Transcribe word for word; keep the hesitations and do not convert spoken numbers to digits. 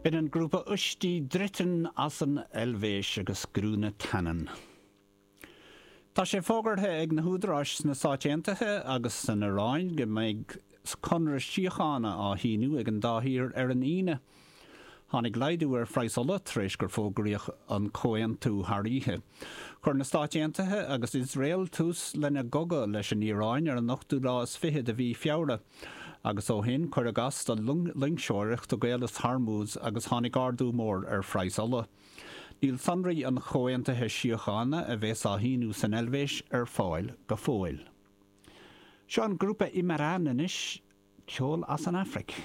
B'in an grúpa Usch die Dritten as an Eilvéis agus Grüne Tannen. Tá sé fógartha ag na húdaráis sna Stáit Aontaithe agus san Iaráin go mbeidh conradh síochána á shíniú ag an dá thír ar an Aoine. Tháinig laghdú ar phraghas ola tar éis gur fógraíodh an comhaontú thar oíche. Chuir na Stáit Aontaithe agus Iosrael tús lena gcogadh leis an Iaráin ar an ochtú lá is fiche de mhí Feabhra. Agus ó shin cuireadh as do loingseoireacht i gCaolas Hormuz agus tháinig ardú mór ar phraghas ola. Níl sonraí an chomhaontaithe síochána a bheas á shíniú san Eilvéis ar fáil go fóill. Seo an grúpa Imarán anois ceol as an Afraic.